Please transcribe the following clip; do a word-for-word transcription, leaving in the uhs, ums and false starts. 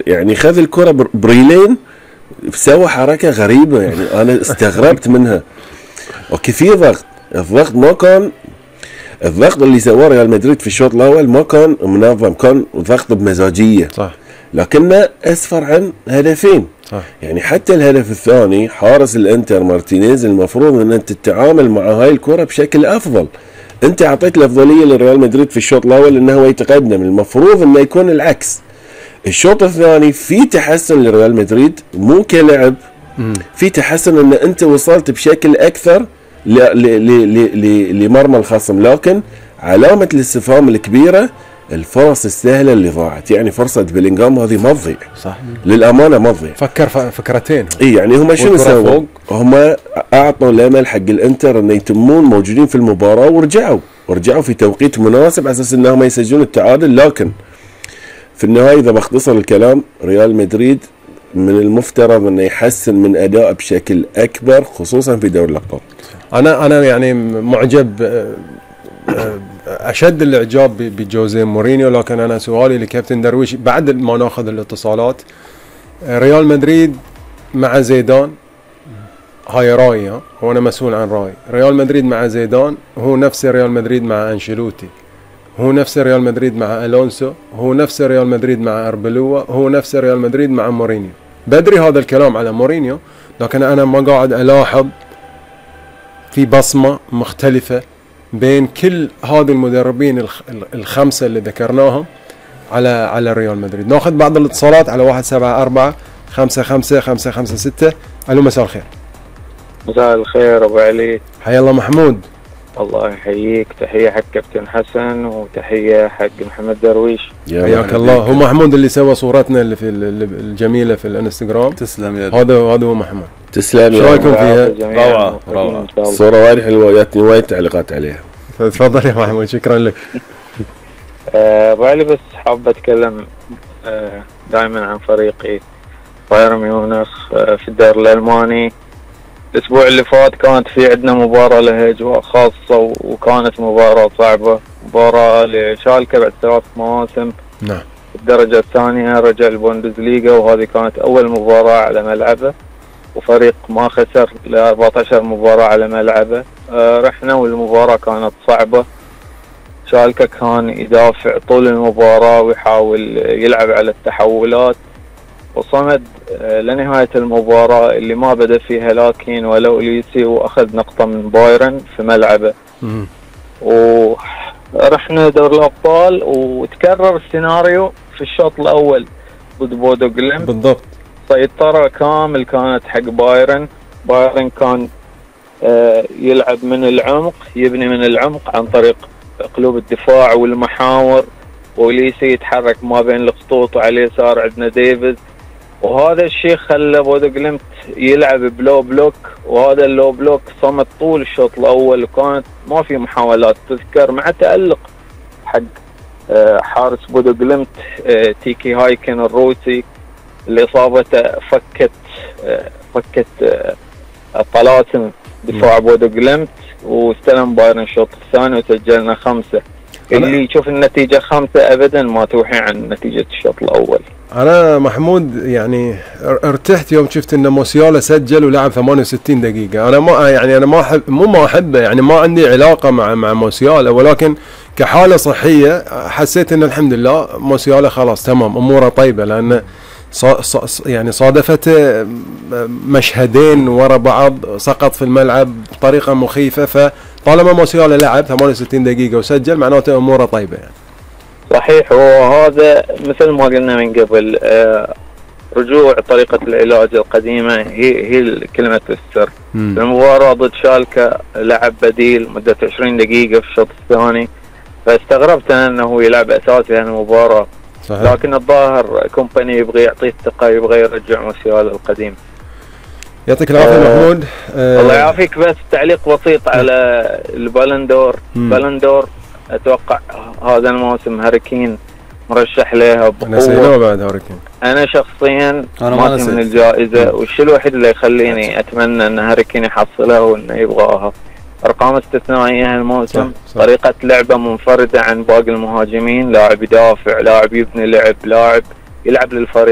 يعني خذ الكرة بريلين سوى حركة غريبة، يعني أنا استغربت منها. اوكي في ضغط، الضغط ما كان الضغط اللي سواه ريال مدريد في الشوط الاول ما كان منظم، كان ضغط بمزاجيه صح، لكنه اسفر عن هدفين. صح. يعني حتى الهدف الثاني حارس الانتر مارتينيز المفروض ان انت تتعامل مع هاي الكرة بشكل افضل. انت اعطيت الافضليه لريال مدريد في الشوط الاول انه هو يتقدم، المفروض انه يكون العكس. الشوط الثاني في تحسن لريال مدريد مو كلعب، في تحسن ان انت وصلت بشكل اكثر لمرمى الخصم، لكن علامة الاستفهام الكبيرة الفرص السهلة اللي ضاعت. يعني فرصة بيلينغهام هذه ما تضيع، صح للأمانة ما تضيع. فكر فكرتين. اي يعني هم شنو سووا؟ هم اعطوا الامل حق الانتر انه يتمون موجودين في المباراة، ورجعوا ورجعوا في توقيت مناسب على اساس انهم يسجلون التعادل. لكن في النهاية اذا بختصر الكلام، ريال مدريد من المفترض انه يحسن من اداء بشكل اكبر خصوصا في دوري الابطال. انا انا يعني معجب اشد الاعجاب بجوزيه مورينيو، لكن انا سؤالي لكابتن درويش بعد ما ناخذ الاتصالات، ريال مدريد مع زيدان هاي رايي، هو انا مسؤول عن رايي. ريال مدريد مع زيدان هو نفس ريال مدريد مع انشيلوتي، هو نفس ريال مدريد مع الونسو، هو نفس ريال مدريد مع اربلوا، هو نفس ريال مدريد مع مورينيو. بدري هذا الكلام على مورينيو، لكن انا ما قاعد الاحظ في بصمة مختلفة بين كل هذه المدربين الخمسة اللي ذكرناهم على على ريال مدريد. ناخذ بعض الاتصالات على واحد سبعة أربعة خمسة خمسة خمسة خمسة ستة. ألو مساء الخير. مساء الخير أبو علي. حيا الله محمود. الله يحييك، تحية حق كابتن حسن وتحية حق محمد درويش. حياك الله. هو محمود اللي سوى صورتنا اللي في الجميلة في الانستغرام. تسلم يا هذا هذا هو محمود. تسلم. شو رايكم فيها؟ روعة روعة. الصورة وايد حلوة، جاتني وايد تعليقات عليها. تفضل يا محمود، شكرا لك. ابو علي بس حاب اتكلم أه دائما عن فريقي بايرن ميونخ أه في الدوري الالماني. الاسبوع اللي فات كانت في عندنا مباراة لها اجواء خاصة، وكانت مباراة صعبة، مباراة لشالكة بعد ثلاث مواسم. نعم. الدرجة الثانية رجع البوندسليغا، وهذه كانت اول مباراة على ملعبه، وفريق ما خسر ل أربعة عشر مباراة على ملعبه. آه رحنا والمباراة كانت صعبة، شالكة كان يدافع طول المباراة ويحاول يلعب على التحولات، وصمد آه لنهاية المباراة اللي ما بدأ فيها لاكين ولا أوليسي، وأخذ نقطة من بايرن في ملعبه. ورحنا دور الأبطال وتكرر السيناريو في الشوط الأول ضد بودو جليمت. بالضبط. سيطرة كامل كانت حق بايرن. بايرن كان آه يلعب من العمق، يبني من العمق عن طريق قلوب الدفاع والمحاور، وليسي يتحرك ما بين الخطوط، وعلى اليسار عندنا ديفيد، وهذا الشيء خلى بودو جليمت يلعب بلو بلوك، وهذا اللو بلوك صمت طول الشوط الاول، وكانت ما في محاولات تذكر، مع تألق حق آه حارس بودو جليمت آه تيكي هايكن الروسي اللي اصابته فكت آه فكت آه الطلاسم دفاع بودو جليمت، واستلم بايرن الشوط الثاني وسجلنا خمسة. اللي يشوف النتيجة خمسة أبدا ما توحي عن نتيجة الشوط الأول. أنا محمود يعني ارتحت يوم شفت إن موسيالا سجل ولعب ثمانية وستين دقيقة. أنا ما يعني أنا ما أحب مو ما أحبه، يعني ما عندي علاقة مع مع موسيالا، ولكن كحالة صحية حسيت إن الحمد لله موسيالا خلاص تمام أموره طيبة، لأن صا صا يعني صادفته مشهدين ورا بعض سقط في الملعب بطريقة مخيفة، فطالما موسيالا لعب ثمانية وستين دقيقة وسجل معناته أموره طيبة يعني. صحيح، وهذا مثل ما قلنا من قبل آه رجوع طريقة العلاج القديمة هي هي كلمة السر. المباراة ضد شالكة لعب بديل مدة عشرين دقيقة في الشوط الثاني، فاستغربت أنه يلعب أساسي هالمباراة. صحيح. لكن الظاهر كومباني يبغى يعطيه الثقة، يبغى يرجع موسيالا القديم. يعطيك العافية آه محمود. آه الله يعافيك. بس تعليق بسيط على البالندور. بالندور اتوقع هذا الموسم هاريكين مرشح لها بقوة. نسيناه بعد هاريكين. انا شخصيا ما من الجائزة، والشيء الوحيد اللي يخليني اتمنى ان هاريكين يحصلها وانه يبغاها ارقام استثنائية هالموسم. طريقة لعبة منفردة عن باقي المهاجمين، لاعب يدافع، لاعب يبني لعب، لاعب يلعب للفريق.